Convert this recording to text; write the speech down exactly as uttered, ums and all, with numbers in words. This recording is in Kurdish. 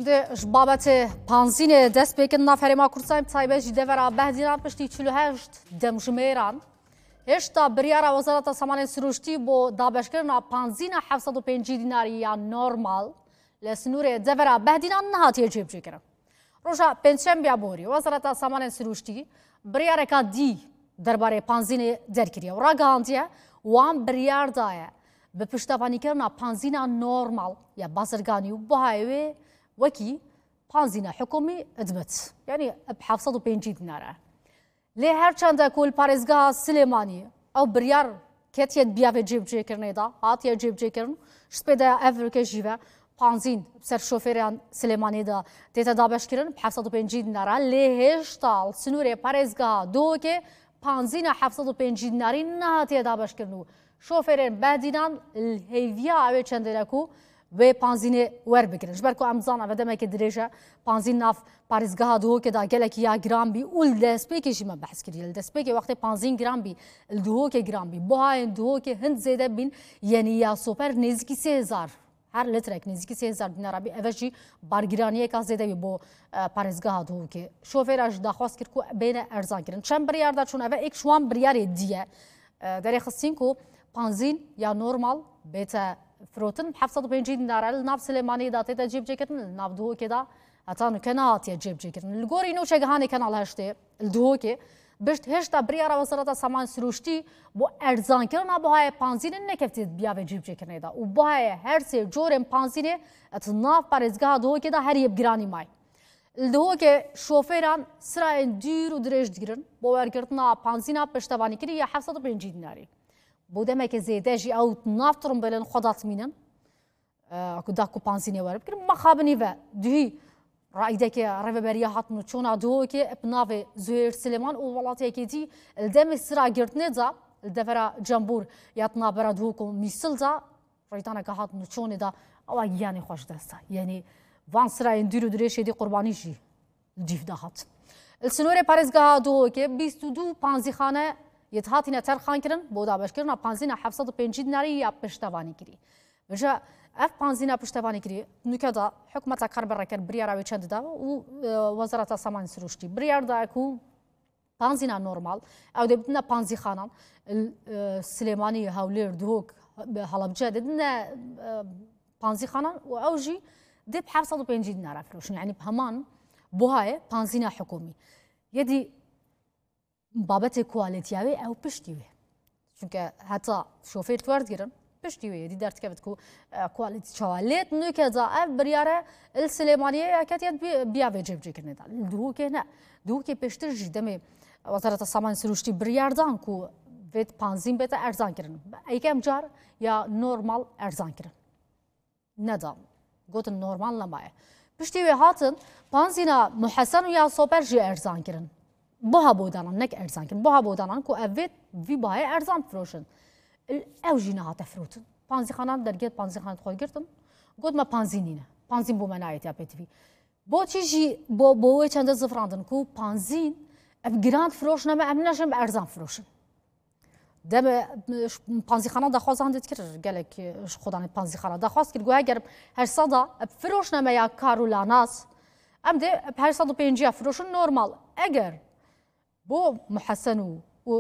Di ji babetê panzînê dest pê kin nav Herêma Kurdistanê, bi taybet jî devera Behdînan piştî çil û heşt demjimêran, hêşta biryara Wezareta Samanên Sirûştî bo dabeşkirina panzîna heft sed û pêncî dînarî ya normal li sinûrê devera Behdînan nehatiye cêbicêkirin. Roja Pêncşembiya borî, Wezareta Samanên Sirûştî biryareka dî derbarê panzînê derkiriye û ragihandiye, wan biryar daye bi piştevanîkirina panzîna normal ya bazirganî û buhayê wê wekî panzîna hikûmî dibit. Yanî bi heft sed û pêncî dînar e. Lê her çende ku li parêzgeha Silêmanî ew biryar ketiye di biyavê cêbicêkirinê de, hatiye cêbicêkirin, ji spê de ev rike jî ve panzîn ser şofêran Silêmaniyê de tête dabeşkirin, bi heft sed û pêncî dînara, lê hêşta li sinûrê parêzgeha Duhokê panzîna heft sed û pêncî dînarî nehatiye dabeşkirin û şofêrên Behdînan li hêviya ew ê çendê ne ku wê panzînê werbigirin. Ji ber ku em dizanin eve demekê dirêj e, panzîn nav parêzgeha Duhokê de gelekî ya giran bî û li destpêkê jî me behs kiriye. Li destpêkê wextê panzîn giran bî, li Duhokê giran bî, buhayên Duhokê hin zêde bîn, yenî ya soper nêzîkî sê hezar, her litrek nêzîkî sê hezar dînara bî. Eve jî bargiraniyeka zêde bî bo, e, parêzgeha Duhokê. Şofêra jî daxwaz kir ku bêne erzan kirin. Çend biryar da çûn eve, êk ji wan biryarê dî ye. E, derêxistin ku panzîn ya normal bête firotin, heft sed û pêncî dînara li nav Silêmaniyê de tête cîbicêkirin, li nav Duhokê de heta nuke nehatiye cêbicêkirin. Li gorî nûçegihanê Kanal Heştê li Duhokê, pişt hêşta biryara Wezareta Saman Sirûştî bo erzankirina buhayê panzînê nekeftiye biyavê cîbicêkirinê de û buhayê her sê corên panzînê di nav parêzgeha Duhokê de her yê bi giranî may. Li Duhokê şofêran sirayên dûr û dirêj digirin bo wergirtina panzîna piştevanîkirî ya heft sed û pêncî dînarî. Bo demeke zêde jî ew nav tirimbêlên xwe datmînin, e, ku da ku panzînê were bikirin. Mixabinî ve duhî raîdeke Rêveberiya Hatin û Çona Duhokê bi navê Zuhêr Silêman û Welat Yekêtî li demê sira girtinê de li devera Cembûr ya di navbera Duhok û Mîsil de rêdaneke Hatin û Çonê de ewa giyanê xwe ji dest da. Yanî van sirayên dûr û dirêj êdî qurbanî jî li cîv de hat. Li sinorê parêzgeha Duhokê bîst û du panzîxane yê dihatîne terxan kirin bo dabeşkirina panzîna heft sed û pêncî dînarî ya piştevanîkirî. Vêca ev panzîna piştevanîkirî nuke de hikûmeta kar bi reker biryara wê çendî da û, e, Wezareta Samanên Sirûştî biryar daye ku panzîna normal ew dê bidine panzîxanan, l-, e, Silêmanî, Hewlêr, Duhok, Halebce dê bidine, e, panzîxanan û ew jî dê bi heft sed û pêncî dînara firoşin. Yanî bi heman buhayê panzîna hikûmî. Yedî babetê kualîtiya wê ew piştî wê. Çunke heta şofêr tu werdigirin, piştî wê yedî derdikevit ku, e, kualîtî çawa. Lê nuke da ev biryare li Silêmaniyê ya ketiye bi-, biya vê cêbicêkirinê de. Li Duhokê ne. Duhokê pêştir jî demê Wezareta Samanên Sirûştî biryar dan ku vê panzîn bête erzan kirin. Eykem car ya normal erzan kirin. Nedan. Gotin normal nemaye. Piştî wê hatin panzîna Muhesen û ya Soper jî erzan kirin. Buha bodanan, nek erzan kirin. Buha bodanan ku ev vê vî bahayê erzan firoşin. Il-, ew jî nehate firotin. Panzîxanan dergehê panzîxanan xwe girtin. Got me panzîn nîne. Panzîn bo me nayê tiya pêtivî. Bo çi jî bo, bo wê çende zifrandin ku panzîn ev giran firoşine me, em neşin bi erzan firoşin. Demê, e, panzîxana daxwazan dê dikir, gelek, e, ji xwedanê panzîxana daxwaz kir, got eger her seda, e, firoşne me ya kar û lanas, em dê, e, her sed û pêncî ya firoşin normal. Eger bo Muhesen û